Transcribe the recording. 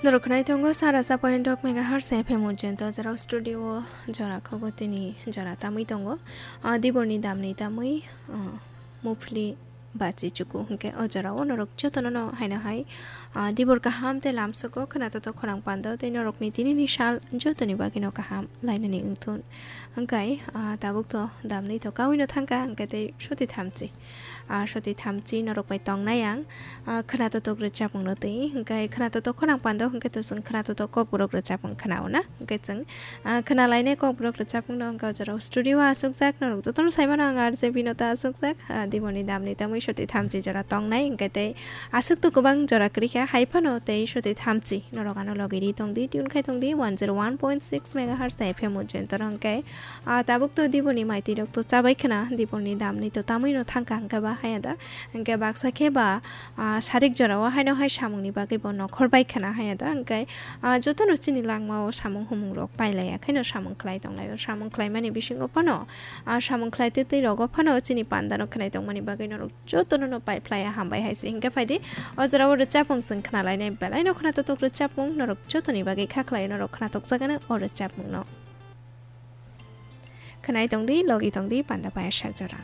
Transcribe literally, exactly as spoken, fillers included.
Norok khwnai tongo sara sa point dok megahertz F M Ujjain to jora studio o jora khogo tini jora tamwi tongo. Ah, diborni damni tamwi, ah, mufli bachi chuku hwnkhe o jora o norok jotono no haino hai, ah, dibor kaham tei lamsoko khwnato to khorang pando tei norokni tinini sal jotoni bagwino kaham lainani wngthun. Hwnkhe, ah, tabuk to damni to kawino thangkha hwnkhe tei soti thamchi. Ah, soti thamchi norok bai tongnai ang, ah, khwnato tok rwchapmung no twi. Hwnkhe khwnato tok khorang pando hwnkhe to chwng khwnato tok kokborok rwchapmung khwnao na. Hwnkhe chwng, ah, khwnalainai kokborok rwchapmung no hwnkhe o jora o studio o aswkjak norok jotono saimano ang R J Binota aswkjak. Ah, diboni damni tamwi soti thamchi jora tongnai hwnkhe tei aswk to kwbang jora kwrwi kha hai phano tei soti thamchi norok ano logi ri tongdi tune khai tongdi one zero one point six megahertz F M Ujjain to hwnkhe. Ah, tabuk to diboni maiti rok to chabai khwna, diboni damni to tamwi no thangkha hwnkhe ba haya da. Hwnkhe baksa khe ba, ah, sarik jora o haino hai samung ni bagwi bo nokhor bai khwna haya da. Hwnkhe, ah, jotono chini langma o samung humung rok pailai ya khaino samung khlai tonglai o. Samung khlai mani bisingo phano, ah, samung khlai twi twi rogo phano chini panda no khwnai tongmani bagwi norok jotono no pai phlai ya hambai hai se. Hwnkhe phaidi o jora o rwchapmung chwng khwnalainai belai no khwnato tok rwchapmung norok jotoni bagwi kha khlai norok khwnatok jagano o rwchapmung no. Khwnai tongdi, logi tongdi, panda paya sak jora.